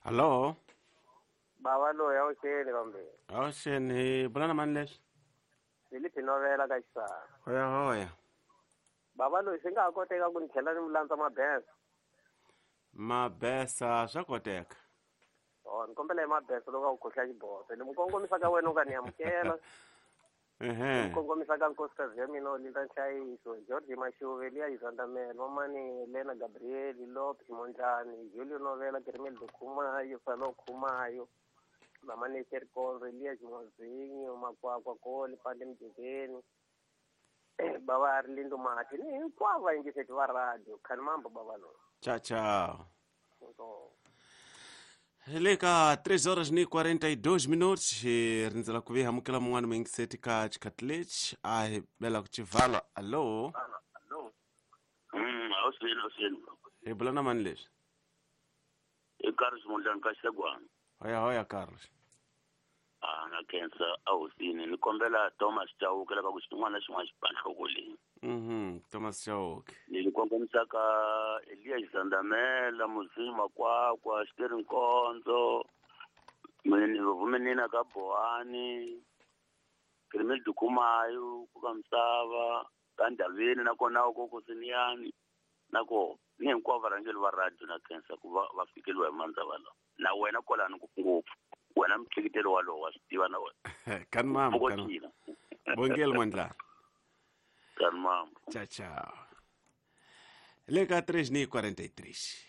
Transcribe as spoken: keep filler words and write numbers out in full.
Hallo. Bava loyi awuxeni kambe. Awuxeni, bula na mani leswi? Filipi Novela ka Xisana. Hoya hoya. Bava loyi swi nga ha koteka ku ni tlhela ni landza mabesa. Mabesa swa koteka. Oh, ni kombela hi mabesa loko a ku khohla xiboso. Ni mu kongomisa ka wena u nga ni amukela. Ehe. Ni kongomisa ka nkosikazi ya mina Olinda Nhlayiso, George Mashuve, Eliya Yizandamela, Mamani Elena Gabriel, Lopes Mondlane, Julio Novela, Kermel Khumayo, Salo Khumayo, Mamani Serkonzo, Eliya Ximozinho, Makwakwa Koli, Pande Mjekeni, Bava Arlindo Mati, ni hinkwavo vayingiseti va radio, khani mambo bava loyi. Tchau, tchau. Inkomu. Le ka três horas ni quarenta e dois minutos, hi rindzela ku vi amukela mun'wana muyingiseti ka xikhathi lexi a hi bela ku xivala. Allo. Mm, awuseni awuseni. Hi bula na mani leswi? I Carlos Mondlane ka Xegwana. Hoya hoya Carlos. Ah, na khensa awusini ni kombela Thomas Chauke lava ku xin'wana na xin'wana xi ba nhloko leyi. Mhm, Thomas Chauke. Ni kongomisa ka Elias Zandamela, Muzima Kwakwa, Xiteri Nkonzo, Mini Vumenina ka Bohani, Kermel Dukumayo, ku ka Misava, ka Ndaveni na kona ko ko Siniyani. Na ko ni hinkwavo varhangeri va radio na khensa ku va va fikeliwa hi mandza lawa. Na wena kwalano ngopfungopfu. Wena mhleketelo walowo wa swi tiva na wena. Kan mambo kan. Pfukotile. Bongel Mondlane. Kan mambo. Tchau, tchau. Le ka três ni quarenta e três.